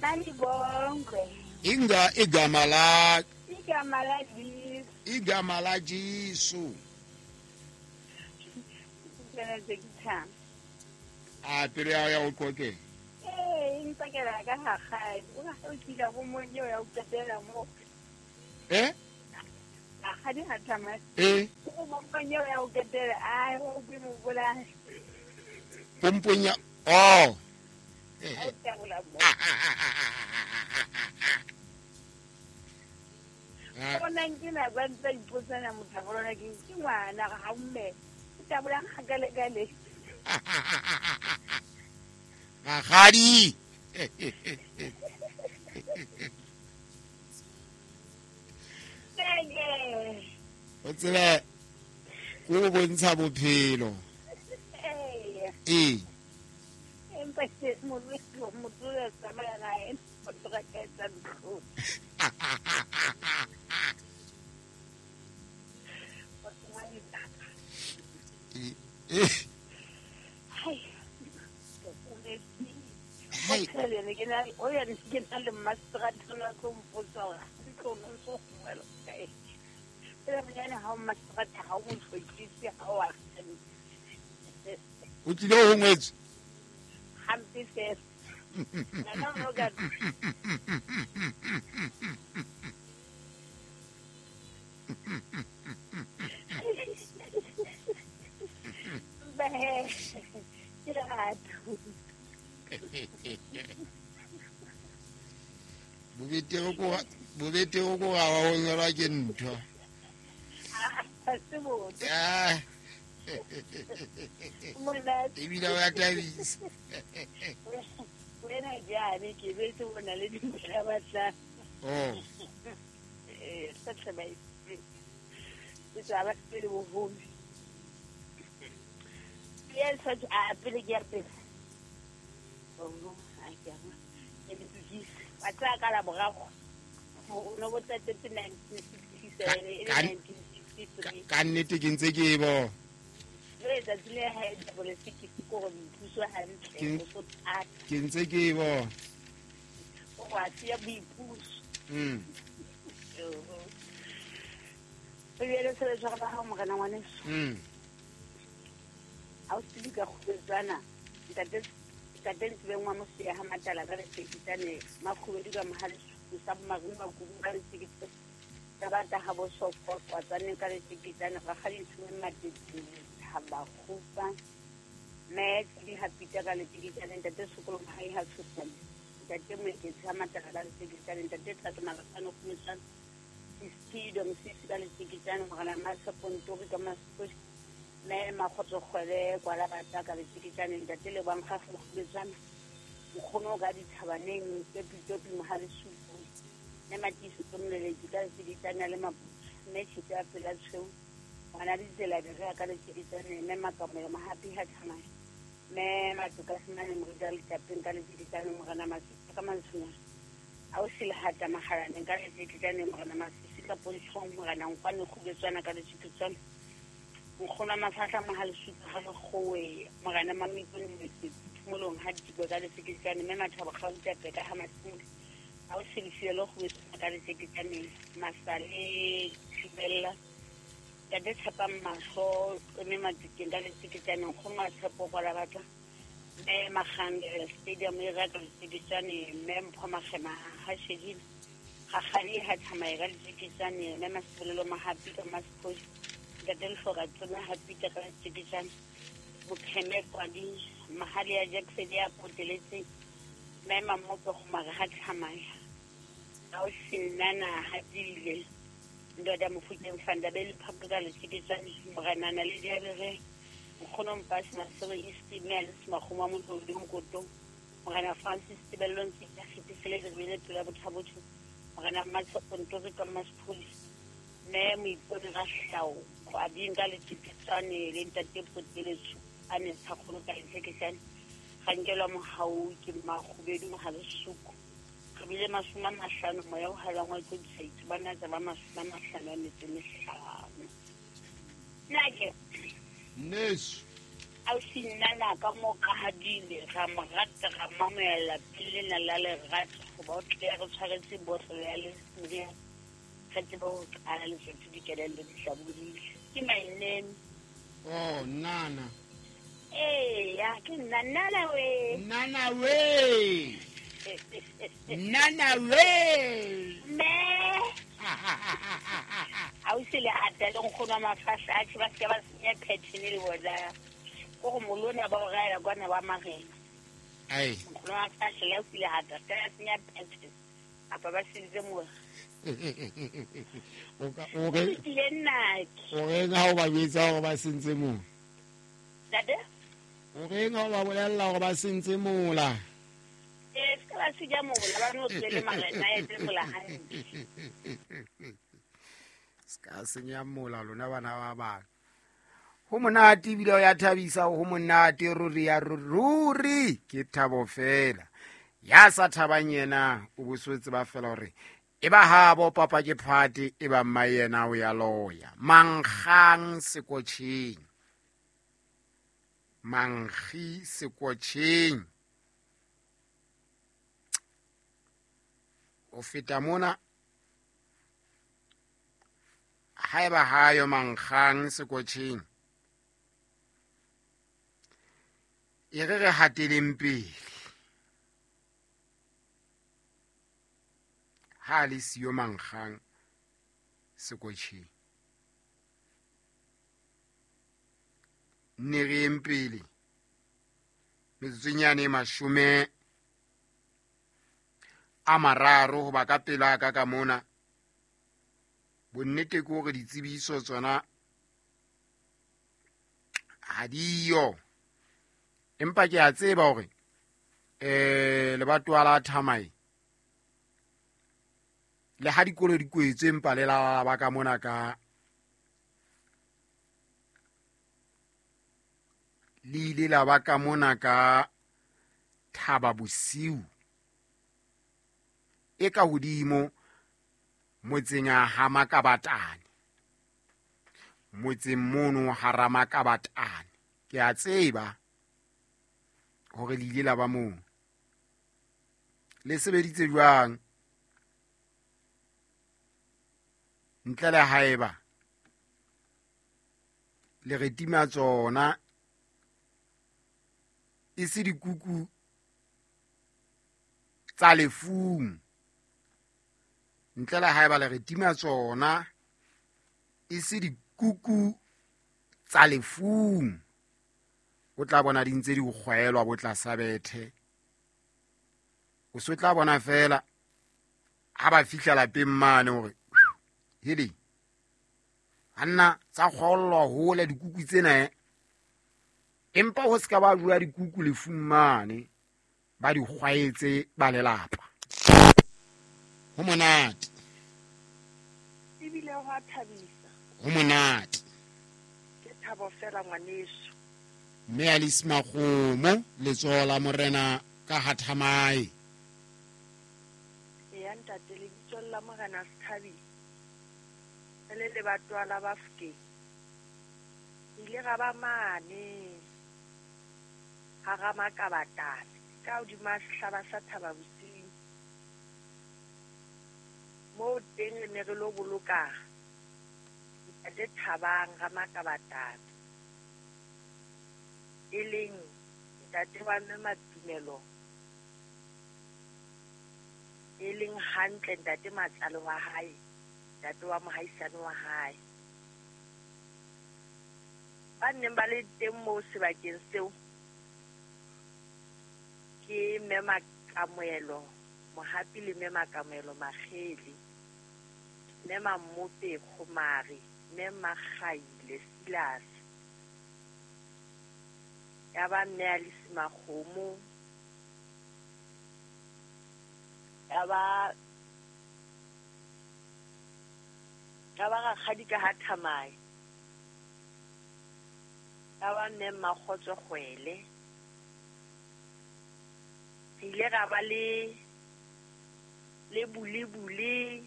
Malibongwe. Inga igama la Igama la Jesu. Igama la Jesu. A pele ya o qoke. Eh, ntsakela ka ha gae. O ga o kila bo monyo ya o qetela mo. Eh? A ga di ha tsamaya. Eh? O mo monyo ya o qetela ai o ke mo bola. Pomponya. Oh. O tabola mo. Bona ke na ba ntse ipotsana mothabolona ke ngwana ga mme. O tabola gakale kale. Magadi. O tsebe go bontsha bophelo. Eh. Eh. Empa ke molwetse motho ya tsamaya gae o tloga ka etsa ntlo. Eh. Hai. Hai. O ya ke na le mastrata la tlo mpotsa hore ntlo no so gongwela kae. Pele monyane ha o mastrata ha o mo tlhokise ha o a O tlile ho ngwetswe. Hampe fela. Nna no ka Ba ke lerato. Bobete go ga wa o nyalwa ke ntho. Ha se botse. Ah. Monate. Ebile wa thabisa. Wena jane ke betse o na le dintho batla. Oh. Eh, sa tlhaba e. Ke tsaba pele boholo. Yes, a pele ke ya pele. Oh, a ke a. Ke ditukise. Wa tsaya ka la borago. O no botsa tete 1967 e le 1963. Ka nnete ke ntse ke e bona. Le letsatsi le ha e double six ke gore boipuso hantle o so thata. Ke ntse ke e bona. O wa tseya boipuso. O bjale se le tshwara ba hao morena ngwaneso. Ha o tsebe ka kgubetswana ntate Ntsibeng wa Mosia ha Matala ka lesekitane Makhubedu ka Mohalesuku sa Marung Makubu ka lesekitane ka bata ha bo sofo kwatsane ka lesekitane rakgadi Ntsibeng Matete ha ba kgupa mme di ha pita ka lesekitane ntate Sekolo Mohai ha tshosane ntate Moeketsi ha Matala ka lesekitane ntate Thato Malapane Kgometswana Sisido Mosisi ka lesekitane morena Masepontori ka Maseposi mme Makgotso Kgwele kwa la bata ka lesekitane ntate Lebang ga Kgometswana nkgono ka dithabaneng Topi Mohalesuku mme Matiso Tsomoleletsi ka lesekitane le Maputsu mme Tshite ya pela tshweu ngwana ditsela di ka lesekitane mme Makamelo Mahapi ha tsamaya mme Matoka Semane Morita Letapeng ka lesekitane morena Masisi ka Mantsonyana a o selehata Mahalaneng ka lesekitane morena Masisi ka Pontshong morena Nkwane Kgubetswana ka lesekitane nkgono Mafahla Mohalesuku ha lekgowe morena Mamikone Phomolong ha Dikwe ka lesekitane mme Mathabo Kgautape ka ha Masimole a o selefile Kgubetswana ka lesekitane Masale Thibella Ntate Tshepang Mahlo mme Matukeng ka lesekitane nkgono wa Tshepo kwa la batla mme Makgangele Stadium e ka lesekitane mme Mpho Makgema ha Shedile Gagadi ha Tsamaya ka lesekitane mme Masebolelo Mahapi ka Maseposi ntate Lehloka Tsome ha Pita ka lesekitane Mokheme Kwadi Mahali ya Jackson ya poteletseng mme Mamope Gomare ha Tsamaya a o senana ha dile ndoda Mofokeng Fandabele Phaka ka lesekitane morenana le diabere nkgono Mpasi Masego East mme Alice Makgoma Motlodi Mokotong morena Francis Tebello Ntsika Kgetisele Rebele Pela Bothabotho morena Matshepontori ka Maseposi mme Moipone Rahlao Kgwading ka lesekitane le ntate Poteletso a ne tshakgolo ka lesekitane ga nkelwa mohau ke Makhubedu Mohalesuku re bile 50 moya o halang wa tlo disaitse ba natsa ba 55. Nna ke Nneso. Ausi nna ka mo ka hadile ra mo rata ra mamela pele na la lerato Goba o tle re tshwaretse botlolo ya le re tsebe ho qala letsatsi dikelello di hlabodile. Ke my name. Oh, Nana. Eya, ke nna Nana we. Nana we. Nana we. Me. Ausi le ata le nkgono wa mafahla a tjhe ba seke ba senya pattern le bona. Ko go molona ba o raela kwana ba marena. Ai. Nkgono wa mafahla le ausi le ata se ka senya pattern. Apa ba sentse mola. O re Ke nnake. O reng ha o ba jwetsa hore ba sentse mola? Ntate? O reng ha o ba bolella hore ba sentse mola? Se ka ba senya mola, ba no tswele marena a etse mola hantle. Se ka senya mola lona bana ba bang. Ho monate ebile o ya thabisa, ho monate ruri ya ruri ke thabo fela. Ya sa thabang yena o bosotse ba fela hore e ba habo papa ke phate e ba mma yena o ya loya. Mankgang sekotjheng. Mankgi sekotjheng. O feta mona haeba hayo mankgang sekotjheng. E re re hateleng pele. Ha le siyo mankgang sekotjheng. Nne re yeng pele. Metsotsonyane e 30 hoba ka pela ka ka mona. Bonnete ke hore ditsebiso tsona ha diyo. Empa ke a tseba hore lebatowa la Thamae le ha dikolo di kwetswe empa le la ba ka mona ka le ile la ba ka mona ka Thaba Bosiu e ka hodimo motseng ha Makabatane, motseng mono ha Ramakabatane. Ke a tseba hore le ile la ba moo. Le sebeditse jwang? Ntle le haeba le re tima tsona e se dikuku tsa lefung. Ntle le haeba le re tima tsona e se dikuku tsa lefung. O tla bona di ntse di kgwaelwa bo tlasa bethe. O so tla bona fela ha ba fihla lapeng mane hore hele anna tsa kgollwa hole dikuku tsena, empa ho ska ba jwa dikuku lefung mane ba di kgwaetse ba lelapa. Ho monate. Ebile ho a thabisa. Ho monate. Ke thabo fela ngwaneso. Mme Alice Makgomo letsoho la morena ka ha Thamae. Eya ntate, lebitso la morena Sethabi. Le lebatowa la Bafokeng. Ile ra ba mane ha Ramakabatane ka hodima sehlaba sa Thaba Bosiu. Moo teng re ne re lo boloka ntate Thabang Ramakabatane, e leng ntate wa mme Matumelo, e leng hantle ntate matsale wa hae, ntate wa mohaisane wa hae. Ba neng ba le teng moo sebakeng seo ke mme Makamoelo Mohapi le mme Makamoelo Makgele, mme Mammope Kgomare, mme Makgaile Silas, ya ba mme Alice Makgomo, ya ba rakgadi ka ha Thamae, ya ba mme Mmakgotso Kgwele. Re ile ra ba le Bulebule,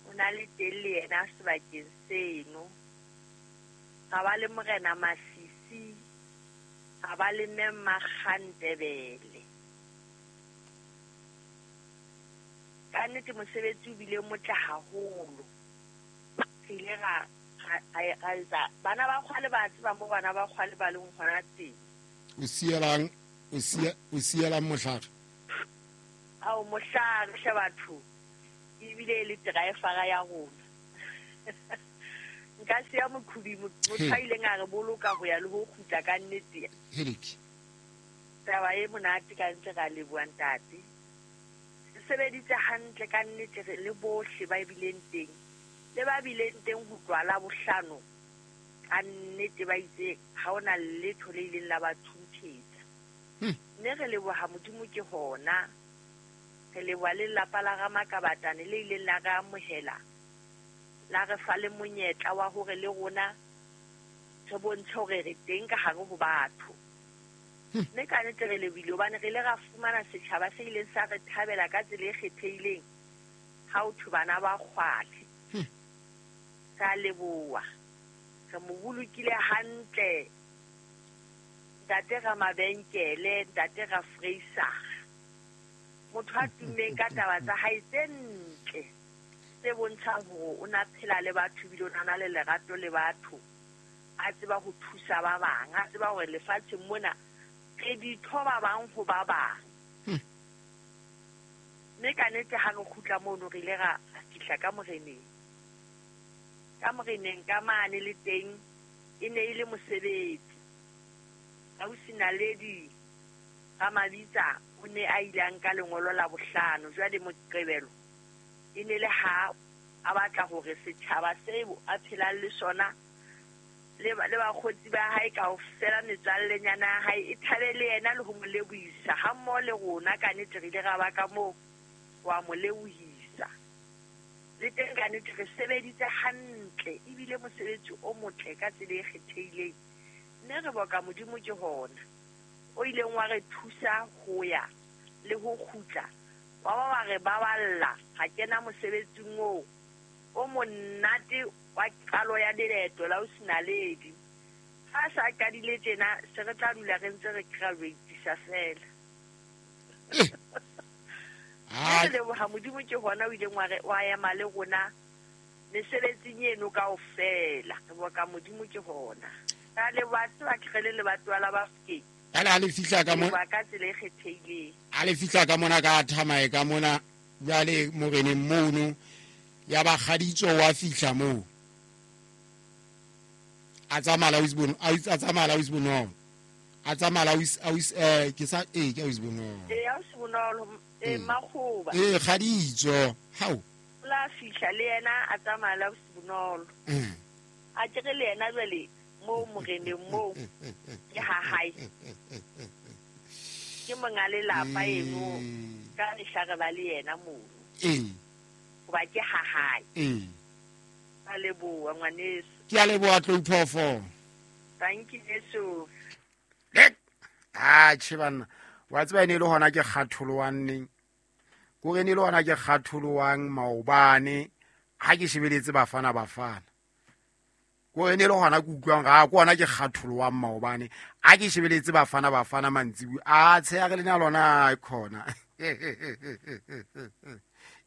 o na le teng le yena sebakeng seno. Ra ba le morena Masisi, ra ba le mme Makgantebele. nnete mosebetsi o bile motle haholo. Re ile ra etsa bana ba kgwale ba tseba mo bana ba kgwale ba leng hona teng. O sielang o sielang mohlare? Ao mohlare hle batho. Ebile e le driver ya rona. Nka siya mokhubi motho a ileng a re boloka ho ya le ho kgutla ka nnete. Heleke. Taba e monate ka ntse ra leboha ntate. Re sebeditse hantle ka nnete re le bohle ba bileng teng. Le ba bileng teng ho tloha la bohlano ka nnete ba itse ha ona letho le ileng la ba thunthetsa. Mme re leboha Modimo ke hona. Re leboha le lelapa la Ramakabatane le ileng la re amohela. La re fa le monyetla wa hore le rona re bontshe hore re teng ka hare ho batho. Mme ka nnete re lebohile hobane re ile ra fumana setjhaba se ileng sa re thabela ka tsela e kgethehileng ha ho thwe bana ba kgwale. Re a leboha. Re mo bolokile hantle ntate Ramabenkele, ntate Rafreisara. Motho a tummeng ka taba tsa hae tse ntle tse bontshang hore o na phela le batho ebile o na le lerato le batho. A tseba ho thusa ba bang, a tseba hore lefatsheng mona re ditho ba bang ho ba bang. Mme ka nnete ha re kgutla mono re ile ra fihla ka moreneng. Ka moreneng ka mane le teng e ne e le mosebetsi. Ausi Naledi Ramabitsa o ne a ile a nka lengolo la bohlano jwale Moqebelo e ne le ha a batla hore setjhaba seo a phelang le sona le bakgotsi ba hae kaofela metswallenyana ya hae e thabe le yena le ho mo lebohisa ha mmoho le rona ka nnete re ile ra ba ka moo wa mo lebohisa. Le teng ka nnete re sebeditse hantle ebile mosebetsi o motle ka tsela e kgethehileng. Mme re boka Modimo ke hona o ileng wa re thusa ho ya le ho kgutla wa ba wa re baballa ga kena mosebetsing oo o monate wa qalo ya leeto la Ausi Naledi. Ha sa qadile tjena se re tla dula re ntse re graduatisa fela. Re leboha Modimo ke hona o ileng wa re wa ema le rona mesebetsing eno kaofela. Re boka Modimo ke hona. Ka leboha tseba ke re le lebatowa la Bafokeng. Jwale ha le fihla ka mona ka tsela e kgethehileng. Ha le fihla ka mona ka thamae ka mona jwale moreneng mono ya ba kgaditso wa fihla moo. A tsamaya la ausi Bonolo. A tsamaya la ausi ke sa ke ausi Bonolo. Eh ausi Bonolo Makgoba. Eh kgaditso. Hao. La fihla le yena a tsamaya la ausi Bonolo. A kere le yena jwale mo moreneng mo ke ha hae. Ke monga lelapa eno ka mehla re ba le yena mono. Hoba ke ha hae. A leboha ngwaneso. Ke a leboha Tlou Phoofolo. Thank you Jesu. Ah che banna. Wa tseba ene le hona ke kgatholowang neng. Kore ne le hona ke kgatholowang maobane ha ke shebeletse Bafana Bafana. Ko ne le hona ke utlwang ga ko hona ke kgatholowang maobane a ke shebeletse Bafana Bafana mantsibu a tsheya re lena lona e khona.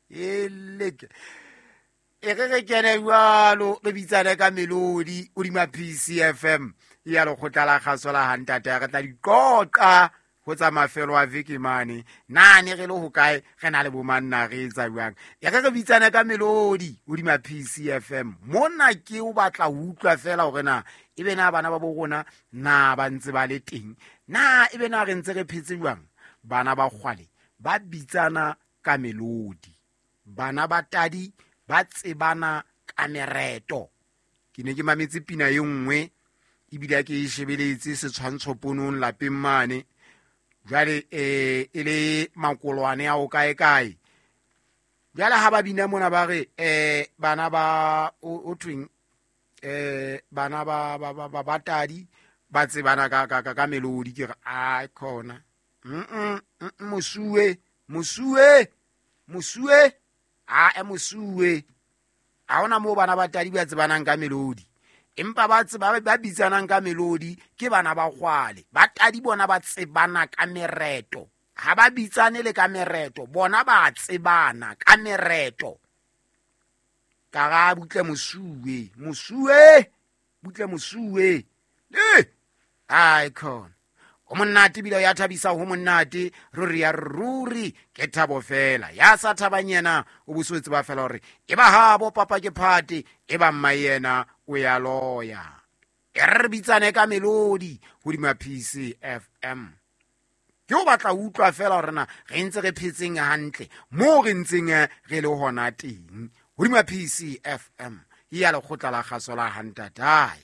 Eleke. E re re kene jwalo re bitsane ka melodi hodima PCFM ya lekgotla la kgaso la hantate re tla diqoqa ho tsa mafelo a veke mane na ne re le hokae re na le bomanna re etsa jwang. E re re bitsane ka melodi hodima PCFM mona ke o batla ho utlwa fela hore na ebe na bana ba bo rona na ba ntse ba le teng na ebe na re ntse re phetse jwang. Bana ba kgwale ba bitsana ka melodi, bana ba tadi ba tsebana ka mereto. Ke ne ke mametse pina e nngwe ebile ke e shebeletse setshwantsho ponong lapeng mane. Jwale e le makolwane a o kae kae. Jwale ha ba bina mona ba re bana ba o thweng bana ba ba ba ba tadi ba tsebana ka ka ka melodi. Ke re a khona mosuwe mosuwe mosuwe a mosuwe. Ha hona moo bana ba tadi ba tsebanang ka melodi, empa ba tseba ba bitsanang ka melodi ke bana ba kgwale. Ba tadi bona ba tsebana ka mereto. Ha ba bitsane le ka mereto, bona ba tsebana ka mereto. Ka ga butle mosuwe, mosuwe, butle mosuwe. Le ai khona. O monate bile ya thabisa ho monate, ruri ya ruri ke thabo fela. Ya sa thabang yena o boswetse ba fela hore e ba habo papa ke phate, e ba mma yena o ya loya. E re bitsane ka melodi hodima PCFM. Ke o batla utlwa fela hore na re ntse re phetseng hantle moo re ntseng re le hona teng hodima PCFM ya lekgotla la kgaso la Hantatae.